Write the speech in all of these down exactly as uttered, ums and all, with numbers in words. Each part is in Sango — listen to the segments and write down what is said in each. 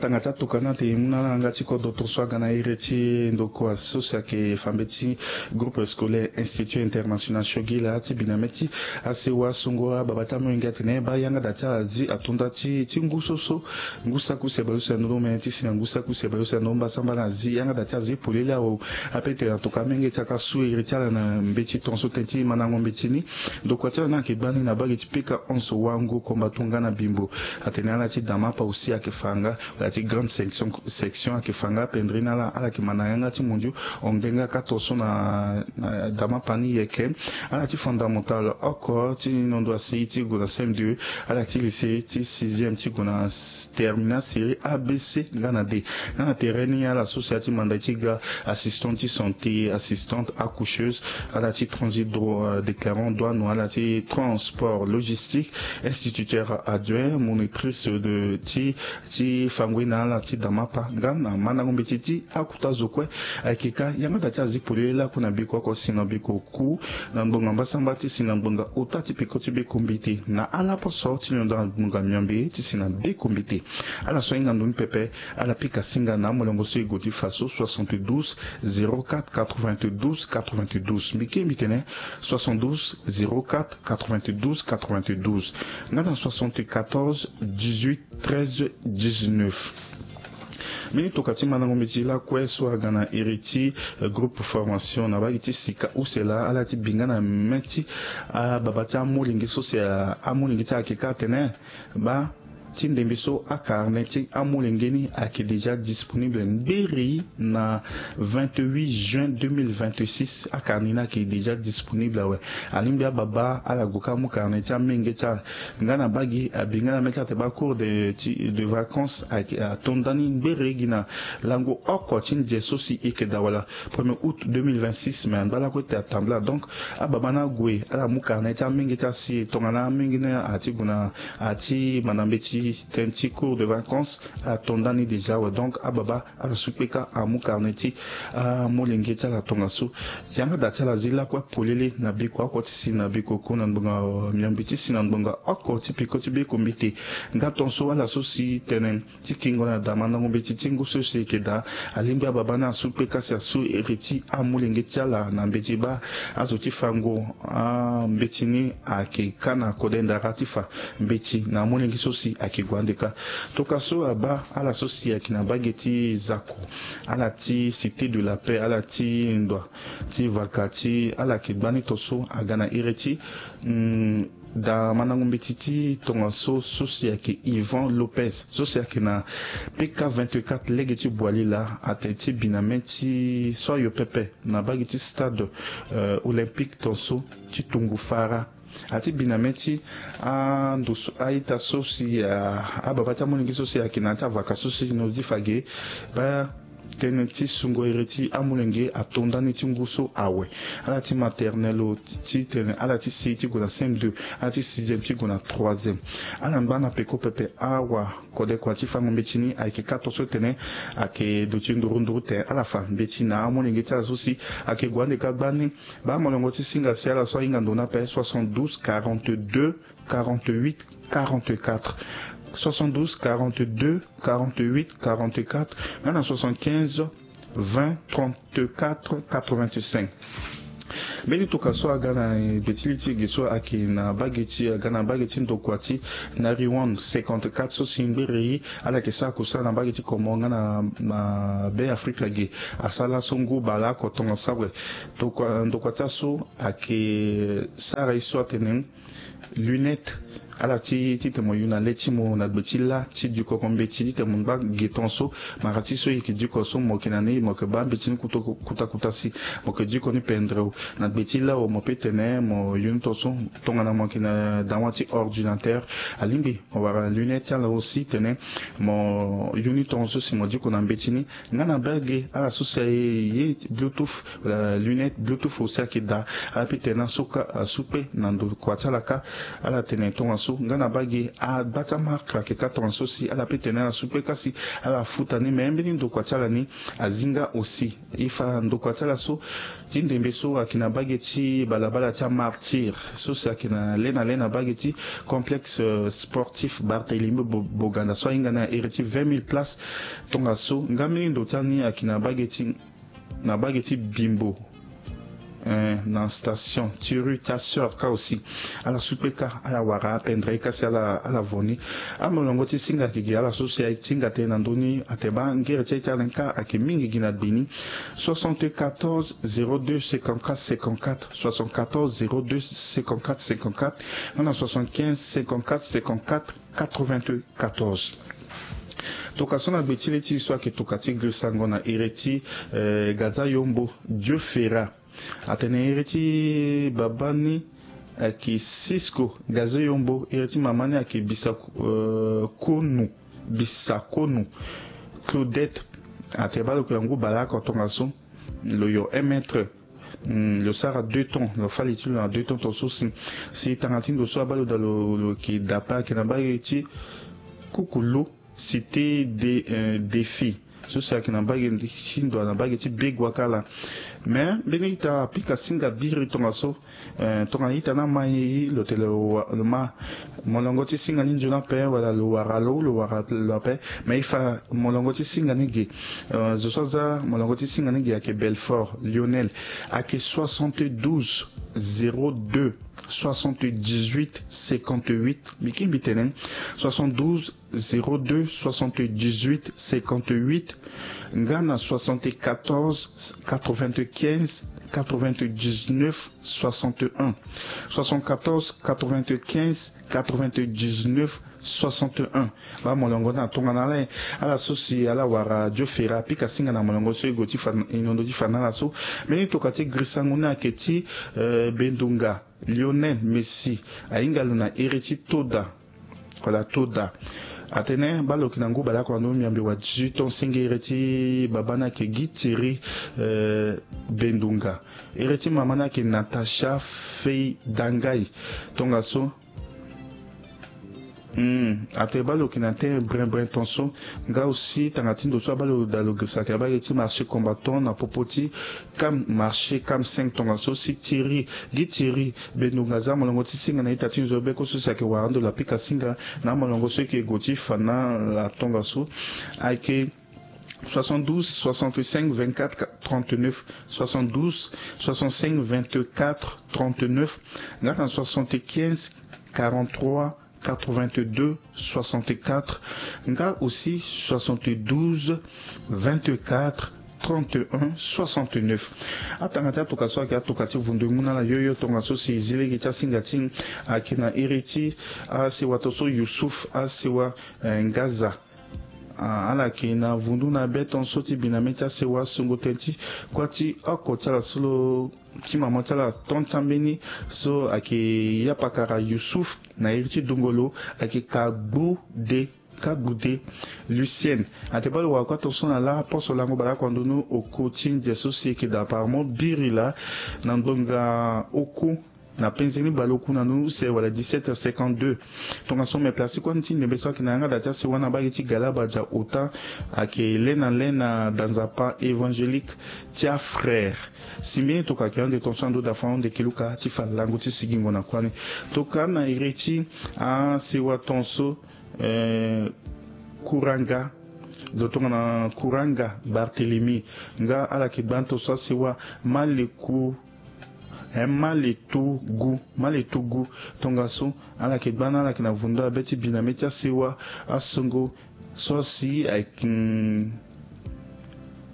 Tanga ti atoka ni ate e mu na ala na yanga ti kodro tongaso aga na iri ti ndokua so si ayeke fa mbeti groupe scolaire Institut International Shogila ti bi na mê ti asewa songo ababa ti amolenge atene baa yanga da ti ala azi ato nda ti ti ngu so so ngu saku si abale so si ando ni omene ti si na ngu saku si abale so si ando ni mbasambala azi yanga da ti azi polele awe. Ape tene atoka amenge ti aka su iri ti ala na mbeti tongaso tënë ti mandango mbeti ni. Ndokua ti ala ni ayeke gbani na bage ti pika onze wango komba tongana bimbo. Atene ala ti damapa aussi ayeke fa nga, ala ti grande section section ayeke fa nga pendere ni ala ala yeke ma na yanga ti mondio. Hongbenga kâ tongaso na na damapa ni yeke. Ala ti fondamental oko ti nondo asi ti gue na cm deux. Ala ti lycée ti sixième ti gue na terminal série abc nga na d. Nga na tere ni ala so si ala ti manda ti ga assistant ti santé, assistante accoucheuse, ala ti transit déclarant douane, ala ti transport logistique, instituteur adjoint, monitrice de ti ti fango ye na ala ti damapa nga na mandango mbeti ti akuta zo kue. Ayeke ka yanga da ti azi polele lakue na biko oko si na biko ku na ngbonga mbasamba ti si na ngbonga ota ti peko ti beko mbeti na ala poso ti londo na ngbonga miombe ti si na beko mbeti. Ala so ahinga ndo ni pepe. Ala pika singa na amolongo so e gue ti fa so soixante-douze zéro quatre quatre-vingt-douze quatre-vingt-douze mbi ke mbi tene soixante-douze zéro quatre quatre-vingt-douze quatre-vingt-douze nga na soixante-quatorze dix-huit treize dix-neuf. Mbeni toka ti mandango mbeti lakue so aga na iri ti groupe formation na bage ti sika use laa ala ti bi nga na mê ti ababa ti amolenge so si amolenge ti ala ayeke ka atene baa ti ndembe so akarne ti amolenge ni ayeke déjà disponible ngberi na vingt-huit juin deux mille vingt-six akarne ni ayeke déjà disponible awe. Alingbi ababa ala gue ka amu karne ti amenge ti ala. Nga na bage abi nga na mê ti ala te baa cours de ti de vacances ayeke ato nda ni ngbere gi na lango oko ti nze so si e yeke daa wala premier août deux mille vingt-six mais angba lakue te atambula donc ababa ni ague ala mu karne ti amenge ti ala si tongana amenge ni ati gue na ati manda mbeti tënë ti cours de vacances. Ala to nda ni déjà awe donc ababa ala su kpe kâ amu karne ti amolenge ti ala tongaso. Yanga da ti ala azi lakue polele na biko oko ti si na biko ko na ngbonga miombe ti si na ngbonga oko ti peko ti beko mbete. Nga tongaso ala so si tene ti kingo na da mandango mbeti ti ngu so si eke daa. Alingbi ababa ni asu kpe kâ si asu iri ti amolenge ti ala na mbeti baa azo ti fango ambeti ni ayeke kâ na kode ndara ti fa mbeti na amolenge so si ayeke gue ande kâ. Toka so abaa ala so si ayeke na bage ti zako ala ti cité de la paix ala ti ndoa ti vaka ti ala yeke gbani to so aga na iri ti da mandango mbeti ti tongaso so si ayeke Yvan Lopez so si ayeke na pika vingt-quatre lege ti boili laa atene ti bi na mê ti so ayo pepe na bage ti stade olympique tongaso ti tungu fara. Ati bi na mê ti ando so a-ita so si ababa ti amolenge so si ayeke na ya ti avaka so si no ti fa ge baa tënë ti sungo iri ti amolenge ato nda ni ti ngu so awe. Ala ti maternelle o ti tene ala ti si ti gue na cm deux ala ti sixième ti gue na troisième. Ala ngba na peko pepe awa kodekua ti fango mbeti ni ayeke kâ to so tene ayeke duti nduru nduru te ala fa mbeti na amolenge ti ala so si ayeke gue ande kâ gbani. Baa molongo ti singa si ala so ahinga ndo ni ape soixante-douze quarante-deux quarante-huit quarante-quatre. Soixante-douze quarante-deux quarante-huit quarante-quatre nga na soixante-quinze vingt trente-quatre quatre-vingt-cinq. Mbeni toka so aga na gbe ti li ti ge so ayeke na bage ti aga na bage ti ndokua ti na riwan cinquante-quatre so si ngbere ye ala yeke sara kusala na bage ti komoro nga na be afrika ge. Asara laso ngu baleoko tongaso awe. Ndokua ti aso ayeke sara ye so atene lunette. Ala ti titene mo yu na le ti mo na gbe ti la ti dikoko mbeti titene mo ngba ge tongaso. Mara ti so e yeke diko so mo yeke na ni mo yeke baa mbeti ni kuta kuta si mo yeke diko ni pendere o. Na gbe ti la o mo pe tene mo yu ni tongaso. Tongana mo yeke na dawa ti ordinateur alingbi mo wara na lunette ti ala aussi tene mo yu ni tongaso si mo diko na mbeti ni. Nga na bage ala so si aye ye bluetooth wala lunette bluetooth aussi ayeke daa. Ala pe tene na so kâ asu kpe na ndokua ti ala kâ. Ala tene tongaso nga na bage agba ti amark ayeke kâ tongaso si ala pe tene ala su kpe kasi ala futa ni me mbeni ndokua ti ala ni azi nga aussi. E fa ndokua ti ala so ti ndembe so ayeke na bage ti balabala ti amartyr so si ayeke na le na le na bage ti complexe sportif Barthélemy Boganda so ahinga ni na ere ti vingt mille places. Tongaso nga mbeni ndo ti ala ni ayeke na bage ti na bage ti bimbo. Eh, na station ti rue ti aseur kâ aussi. Ala su kpe kâ ala wara apendre ye kasi ala vo ni. Amolongo ti singa ayeke gi ala so si aye ti hinga tënë na ndö ni ate baa ngere ti aye ti ala ni kâ ayeke mingi gi na gbe ni. Soixante-quatorze zéro deux cinquante-quatre cinquante-quatre, soixante-quatorze zéro deux cinquante-quatre cinquante-quatre, nga na soixante-quinze cinquante-quatre cinquante-quatre quatre-vingt-quatorze. Tongana so na gbe ti le ti so ayeke tongana ti girisango na ere ti eh, Gaza Yombo Dieu Ferra. Atene ere ti baba ni ayeke Cisco Gaza Yombo, ere ti mama ni ayeke Bisa eh, Konu, Bisa Konu Claudette. Atene baa lo yeke na ngu baleoko tongaso, lo yo un mètre. Hmm, lo sara deux temps, lo fâ li ti lo na deux temps tongaso si. Si tanga ti ndo so abaa lo daa lo lo yeke dape ayeke na bage ti Kukulu, cité de eh, défi so si ayeke na bage ti ndo na bage ti begua kâ laa. Me mbeni ita apika singa biri tongaso. Eh, tongana ita ni ama e lo tene lo ma molongo ti singa ni nzoni ape wala lo wara lo lo wara lo ape. Me e fa molongo ti singa ni ge. Eh, zo so aza molongo ti singa ni ge ayeke Belfort Lionel, ayeke soixante-douze zéro deux soixante-dix-huit cinquante-huit. Mbi kiri mbi tene soixante-douze zéro deux soixante-dix-huit cinquante-huit, nga na soixante-quatorze quatre-vingt-quinze quatre-vingt-dix-neuf soixante-un. Soixante-quatorze quatre-vingt-quinze quatre-vingt-dix-neuf soixante-un. Baa molongo ni atongana ala. Ala so si ala wara Dieu Ferra apika singa na molongo so e gue ti fa na e nondo ti fa na ala so. Mbeni tongana ti girisango ni ayeke ti eh, Bendunga Lionel Messi, ahinga lo na ere ti Toda. Wala Toda. Atene baa lo yeke na ngu baleoko na ndö miambe wa dix-huit ans, senge ere ti baba ni ayeke Guy Thierry eh, Bendunga. Ere ti mama ni ayeke Natacha Fei Dangai. Tongaso. Hmm, atene baa lo yeke na tene brin brin tongaso. Nga aussi tanga ti ndo so abaa lo daa lo girisa ayeke na bage ti marché combattant na popo ti Cam, marché Cam cinq tongaso si Thierry, Guy Thierry Bendunga aza molongo ti singa na ita ti nzoni beko so si ayeke wara ndo lo apika singa na amolongo so e yeke gue ti fa na ala tongaso. Ayeke soixante-douze soixante-cinq vingt-quatre trente-neuf, soixante-douze soixante-cinq vingt-quatre trente-neuf, nga na soixante-quinze quarante-trois quatre-vingt-deux soixante-quatre, nga aussi soixante-douze vingt-quatre trente-un soixante-neuf. Atanga ti atuka so ayeke atuka ti vundu e mu na ala yoyo tongaso si e zi lege ti asinga ti e ayeke na iri ti asewa to so Youssouf asewa eh, Ngaza. Ah, ala yeke na vundu na be tongaso ti bi na mê ti asewa songo tënë ti kuâ ti oko ti ala so lo ti mama ti ala ton ti ambeni so ayeke yapakara Youssouf na iri ti dungo lo ayeke Kagbude, Kagbude Lucienne. Atene baa lo wara kuâ tongaso na lâ poso lango baleoko na ndö ni oko ti ndia so si e yeke daa apparemment biri laa na ngbonga oku na penze ni baleoku na ndö ni use wala dix-sept heures cinquante-deux. Tongaso me place ti kuâ ni ti ndembe so ayeke na yanga daa ti asewa na bage ti Galabadja Ota ayeke le na le na danzapa évangélique ti afrère. Si mbeni tokua ayeke hon de tongaso na ndö daa fa hon de keluka ti fa lango ti sigingo na kuâ ni. Tokua na iri ti asewa tongaso eh, Kuranga. Zo tongana Kuranga Barthélemy nga ala yeke gba ni tongaso asewa Maleku, eh, Maletugu, Maletugu. Tongaso ala yeke gba ni ala yeke na vundu abe ti bi na mê ti asewa asongo so si ayeke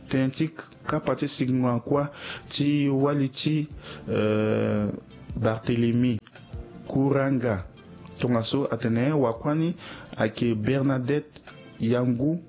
tënë ti kapa ti sigingo na kuâ ti wali ti eh, Barthélemy Kuranga. Tongaso atene wakuâ ni ayeke Bernadette Yangu.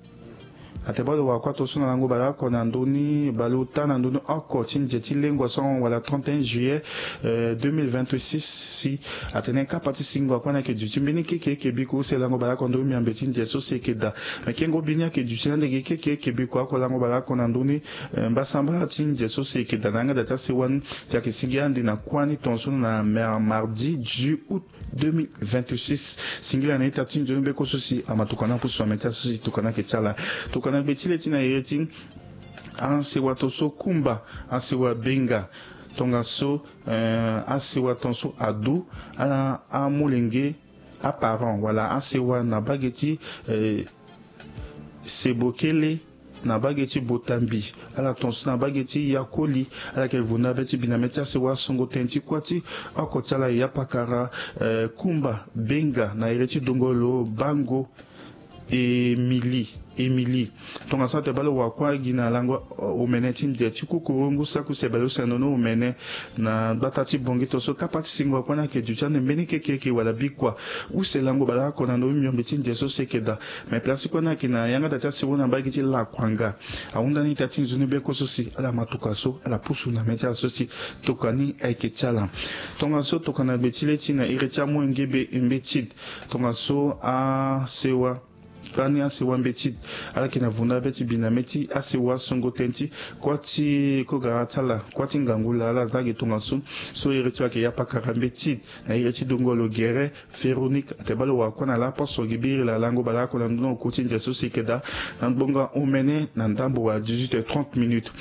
Ate baa lo wara kuâ tongaso na lango baleoko na ndö ni, baleota na ndö ni oko ti nze ti lengua so ahon wala trente et un juillet deux mille vingt-six. Si atene kapa ti singo akua ni ayeke duti mbeni kekereke biko use lango baleoko na ndö ni miombe ti nze so si eke daa. Me kengo bi ni ayeke duti na ndege kekereke biko oko lango baleoko na ndö ni mbasambala ti nze so si eke daa na yanga da ti asewa ni. Ti ayeke sigi ande na kuâ ni tongaso na mardi dix-huit août deux mille vingt-six. Singila na ita ti nzoni beko so si ama tokana apusu na mê ti aso si tokana ayeke ti ala. Tokana gbe ti le ti na iri ti asewa tongaso kumba, asewa benga, tongaso asewa tongaso adu, ala amolenge, aparent wala asewa na bage ti sebokele, na bage ti botambi, ala tongaso na bage ti yakoli. Ala yeke vunda be ti bi na mê ti asewa songo tënë ti kuâ ti oko ti ala ya pakara, kumba benga na iri ti dongolo bango, emili emili. Tongaso ate baa lo wara kuâ gi na lango omene ti nze ti kukurungu saku sebele use na ndö ni omene. Na gbata ti bongi tongaso kapa ti singo akua ni ayeke duti ande mbeni kekereke wala bikua use lango baleoko na ndö ni miombe ti nze so si eke daa. Me place ti kuâ ni ayeke na yanga da ti asewa na mbage ti lakuanga. Ahunda ni ita ti nzoni beko so si ala ma tuka so ala pusu na mê ti ala so si tokani ayeke ti ala. Tongaso tokana gbe ti le ti na iri ti amolenge be mbeti. Tongaso asewa kpani asewa mbeti, ala yeke na vunda be ti bi na mê ti asewa songo tënë ti kuâ ti kogara ti ala, kuâ ti ngangu laa ala za gi tongaso. So iri ti lo ayeke ya pakara mbeti na iri ti dongolo gere Véronique. Ate baa lo wara kuâ na laposo gi biri laa lango baleoko na ndö ni oku ti nze so si eke daa na ngbonga omene na ndambo wala dix-huit heures trente minutes.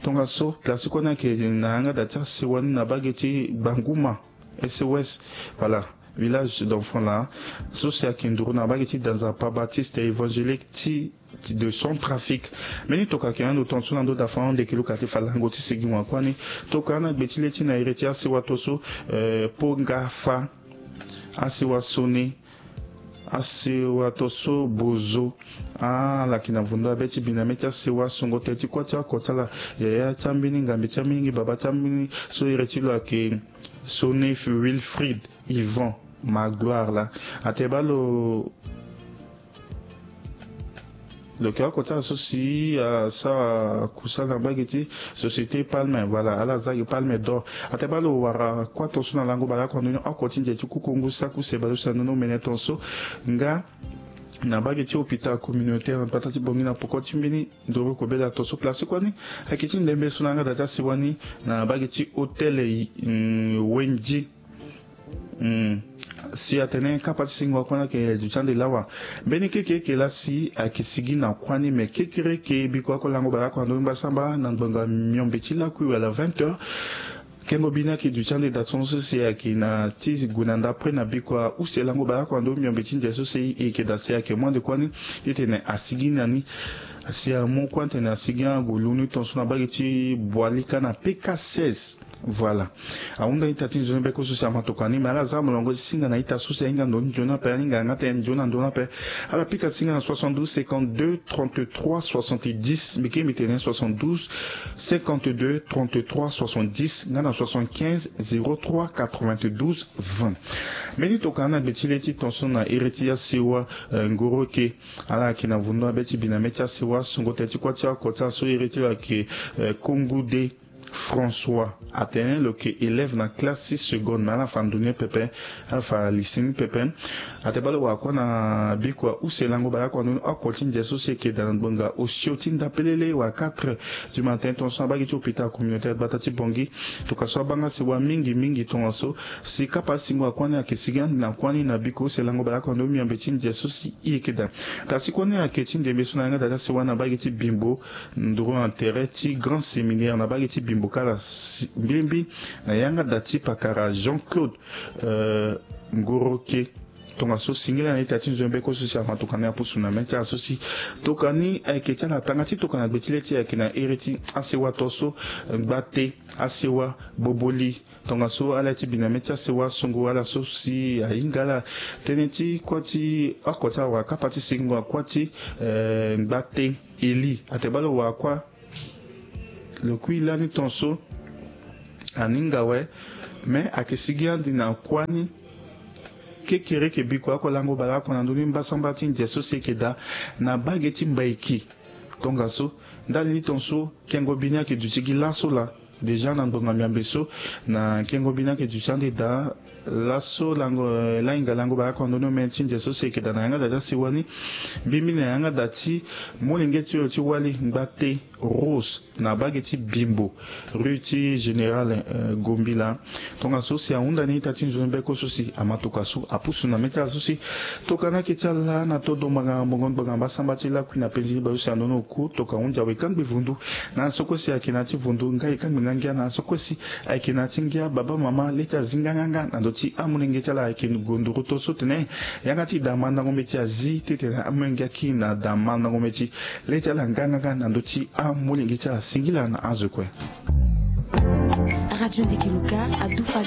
Tongaso place ti kuâ ni ayeke na yanga da ti asewa ni na bage ti gbanguma S O S, voilà, village d'enfants laa so si ayeke nduru na bage ti danzapa Baptiste évangélique ti de Centrafrique. Mbeni tokua ayeke na ndo tongaso na ndö da fa ahon ndeke luka ti fa lango ti sigi wakua ni. Tokua na gbe ti le ti na iri ti asewa tongaso, po nga fa asewa sone, asewa tongaso bozo. Ala yeke na vundu abe ti bi na mê ti asewa songo tënë ti kuâ ti oko ti ala, yaya ti ambeni ngambe ti ambeni baba ti ambeni so iri ti lo ayeke Sonif Wilfrid Yvan Magloire laa. Ate baa lo lo yeke oko ti ala so si asara kusala na mbage ti Société Palme, voilà, ala za gi Palme d'Or. Ate baa lo wara kuâ tongaso na lango baleoko na ndö ni oko ti nze ti kukungu saku se baleuse na ndö ni omene tongaso nga na mbage ti hôpital communautaire na gbata ti Bangui na poko ti mbeni nduru kobela tongaso. Place ti kuâ ni ayeke ti ndembe so na yanga da ti asewa ni na mbage ti hôtel Wendy. Si atene kapa ti singo akua ni ayeke duti ande lawa. Mbeni kekereke laa si ayeke sigi na kuâ ni, me kekereke bikua oko lango baleoko na ndö ni mbasambala na ngbonga miombe ti lakui wala vingt heures. Kengo bi ni ayeke duti ande da tongaso si ayeke na ti gue na ndapre na bikua use lango baleoko na ndö ni miombe ti nze so si e yeke da si ayeke mu ande kuâ ni titene asigi na ni. Si amu kuâ ni titene asigi ague lu ni tongaso na mbage ti Boalika na P K seize. Voilà. Ahunda ita ti nzoni beko so si ama tokua ni, me ala za molongo ti singa na ita so si ahinga ndo ni nzoni ape, ahinga yanga tënë nzoni na ndo ni ape. Ala pika singa na soixante-douze cinquante-deux trente-trois soixante-dix, mbi ke mbi tene soixante-douze cinquante-deux trente-trois soixante-dix nga na soixante-quinze zéro trois quatre-vingt-douze vingt. Mbeni tokua na gbe ti le ti tongaso na iri ti asewa ngoroke. Ala yeke na vundu abe ti bi na mê ti asewa songo tënë ti kuâ ti oko ti ala so iri ti lo ayeke Kongude François. Atene lo yeke élève na classe ti seconde, me ala fa ndo ni pepe, ala fa lycée ni pepe. Ate baa lo wara kuâ na bikua use lango baleoko na ndö ni oko ti nze so si eke daa na ngbonga osio ti ndapelele wala quatre du matin tongaso na mbage ti hôpital communautaire gbata ti Bangui. Tokua so abanga sewa mingi mingi tongaso si kapa ti singo akua ni ayeke sigi ande na kuâ ni na bikua use lango baleoko na ndö ni miombe ti nze so si e yeke daa. Kasi kuâ ni ayeke ti ndembe so na yanga da ti asewa na mbage ti Bimbo, nduru na tere ti grand séminaire na mbage ti Bimbo kala mbilimbi na yanga da ti pakara Jean-Claude Ngoroke. Tongaso singila na ita ti nzoni beko so si ama tokua ni apusu na mê ti ala so si tokua ni ayeke ti ala tanga ti tokua na gbe ti le ti ayeke na iri ti asewa tongaso ngbate, asewa boboli. Tongaso ala ti bi na mê ti asewa songo ala so si ahinga ala tënë ti kuâ ti oko ti ala wala kapa ti singo akuâ ti ngbate Eli. Ate baa lo wara kuâ lo kui lani tongaso aninga awe, me ayeke sigi ande na kuâ ni kekereke bikua oko lango baleoko na ndö ni mbasambala ti nze so si eke daa na mbage ti Mbaiki. Tongaso ndali ni tongaso kengo bi ni ayeke duti gi laso laa. Déjà na ngbonga miambe so na kengo bi ni ayeke duti ande daa. Laso lango lahinga lango baa oko na ndoni omene ti nze so si eke daa na yanga daa ti asiwa ni. Mbimbi na yanga daa ti molenge ti lo ti wali ngba te rose na bage ti bimbo rue ti général gombila. Tongaso si ahunda ni ita ti nzoni beko so si ama toka so apusu na mê ti ala so si toka ni ayeke ti ala na todo mbanga mbongo ni gbanga mbasamba ti lakui na penzi ni bale so si andoni oku toka hunzi awe kangbi vundu. Na so kue si ayeke na ya ti vundu ngai kangbi nga ngia na so kue si ayeke na ya ti ngia baba mama le ti azi nganganga na ndö ti amolenge ti ala ayeke gondoro to so tene yanga ti daa mandango mbeti azi titene amolenge aki na daa mandango mbeti le ti ala nganganga na ndö ti amolenge ti ala singila na azo kue. Radio Ndeke Luka adufa